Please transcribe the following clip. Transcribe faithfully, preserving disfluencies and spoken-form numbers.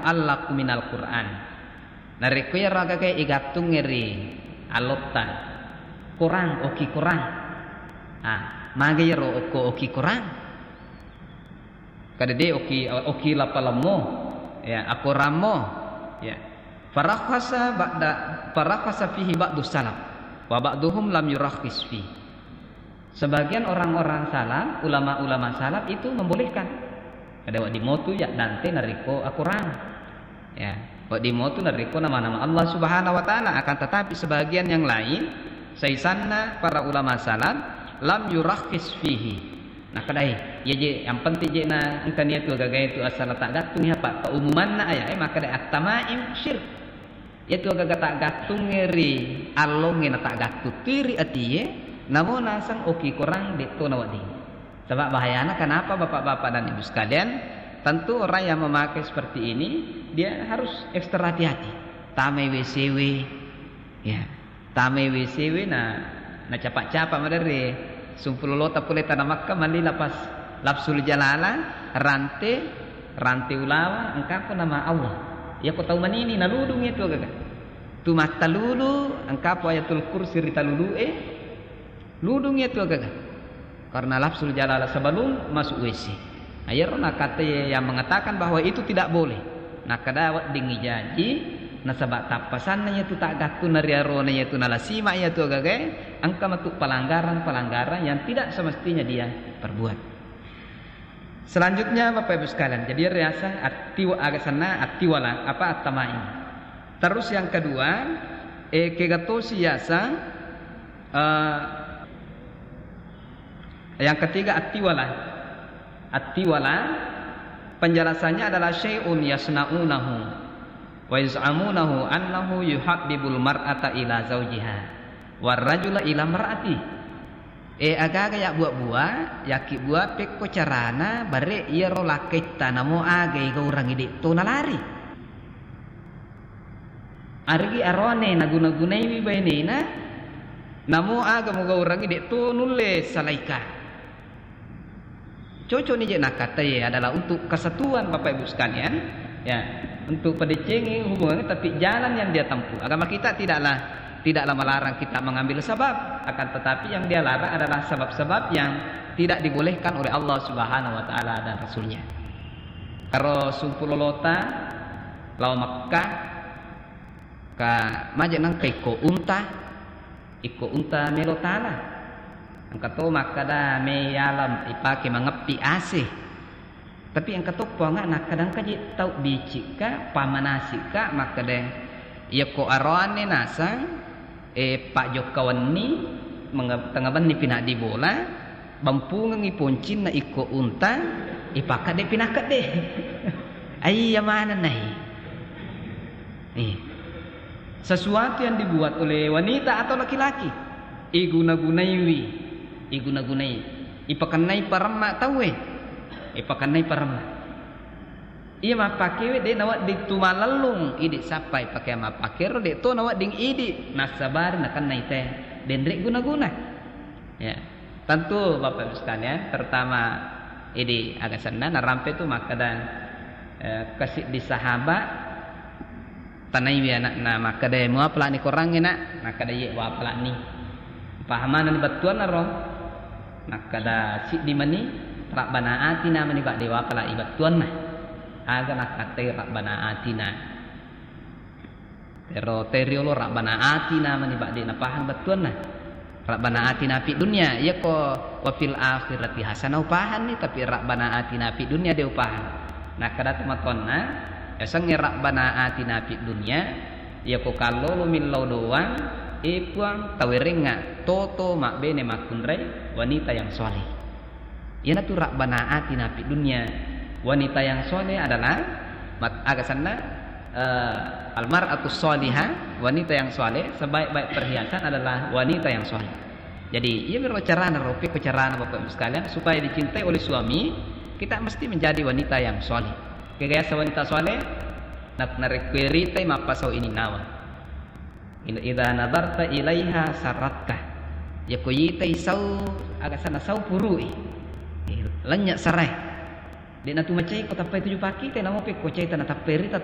allaqu minal Qur'an. Narekko iyaro agaga igattungnge ri allotta, korang, oki korang. Ah, magi iyaro okko oki korang? Kada de oki, oki lapalemmu, ya, akorammu, ya. Farakhasa ba'da, farakhasa fihi ba'du salaf, wa ba'duhum lam yurakhis fi. Sebagian orang-orang salaf, ulama-ulama salaf itu membolehkan. Kada wedding motu ya dante narekko akorang. Ya, wedding motu narekko nama-nama Allah Subhanahu wa Ta'ala. Akan tetapi sebagian yang lain, saisanna para ulama salaf, lam yurakhis fihi. Nakadai, iya je, yang penting je na engka niatu agaga itu asal tak gattung ya, Pak. Keumumanna aya, eh, makadai at-tamaim syirk. Iyatu agaga taggattungnge ri allongnge na taggattuttui ri atie, namo naseng oki korang de'to nawedding. Sebab bahayana kenapa, Bapak-bapak dan Ibu sekalian, tentu orang yang memakai seperti ini, dia harus ekstra hati-hati. Tamai W C W, ya. Tamai W C W na, na capa-capa maderri. Sumpulolota pole tana Makka mali lapas lafzul jalala, rante, rante ulawa, engkapo nama Allah. Iyako tau manini naludung iyatu agaga. Tu mattalulu, engkapo ayatul kursi ri talulu'e, ludung iyatu agaga. Karena lafzul jalala sebelum masuk W C. Nah, iyaro nakkatai yang mengatakan bahwa itu tidak boleh. Nakkada weddingngi jaji, nasaba tappasanna iyatu taggattunna ri arona iyatu nalasima iyatu agagae, engka matu pelanggaran-pelanggaran yang tidak semestinya dia perbuat. Selanjutnya, Bapak Ibu sekalian, jadi riaseng attiwa-, aga senna attiwala, apa, at-tamaim. Terus yang kedua, eh, kega tosi yaseng, eh, yang ketiga, attiwala. Attiwala, penjelasannya adalah syai'un yasna'unahu wa yaz'amunahu annahu yuhabbibul mar'ata ila zaujiha war rajula ila mar'ati. Eh, agaga ya buat-buat, yaki buat pekko carana bare iyaro lakkaitta namo aga igaurangi de'to nalari. Arigi arone naguna-gunaiwi bainena, namo aga mugaurangi de'to nulle salaika. Cocok ni je nakkatai adalah untuk kesatuan Bapak Ibu sekalian, ya, untuk pedecengi hubungan, tapi jalan yang dia tempuh. Agama kita tidaklah, tidaklah melarang kita mengambil sebab, akan tetapi yang dia larang adalah sebab-sebab yang tidak dibolehkan oleh Allah Subhanahu wa Ta'ala dan Rasulnya. Karo sumpulolota lao Makkah, ka maje nengka ikko unta, ikko unta melo tala. Engka to makkada me yalam ipake mangeppi A C. Tapi engka to puanga nakkada engka je tau bicikka, pamanasi'ka, makkada iyakko aroanne nasang, eh, pajokka wenni, menge-, tengnga benni pinaddi bola, bampungengngi poncinna ikko unta, ipakkedde pinakkedde. Aiya maneng nai. Eh. Sesuatu yang dibuat oleh wanita atau laki-laki, iguna-gunaiwi, iguna-gunai, ipakennai paremma tauwe, ipakennai paremma. Iya mappakewe de nawedding tu malellung idi sappai pake mappakero de to nawedding idi nassabari nakennai te denre guna-guna. Ya. Tentu Bapak Ibu sekalian, terutama idi aga senna narampe tu makkeda, eh, kasiddi sahabat tanaiwi anakna makkeda, "Muapalani korangnge, Nak?" Nakkeda, "Iye, uapalani." Pahamanani bettuanna ro? Nakkeda, "Siddi mani, Rabbana atina mani badde uapalai bettuanna." Aga nakkatai Rabbana atina. Pero teriolo Rabbana atina mani badde napahang bettuanna. Rabbana atina fid dunya, iyako wa fil akhirati hasanah upahanni, tapi Rabbana atina fid dunya de upahang. Nakkeda tomatoanna, yasengnge Rabbana atina fid dunya, iyako kallolo millau doang, e Puang, tawerengnga toto mabbene makkunrai wanita yang soleh. Iyanatu Rabbana atina fid dunya. Wanita yang soleh adalah mat-, aga senna, eh, almar'atus sholihah, wanita yang soleh, sebaik-baik perhiasan adalah wanita yang soleh. Jadi, iya miro carana, rope ko carana Bapak Ibu sekalian, supaya dicintai oleh suami, kita mesti menjadi wanita yang soleh. Kegayasa wanita soleh, na-, narekko iritai mappasau ini nawa. Idza nadarta ilaiha sarratka. Yako itai sau, aga sana sau purui. Eh, lenya sarai. De natu macai ko tappai tuju pakite, namo pe ko caita na tappai rita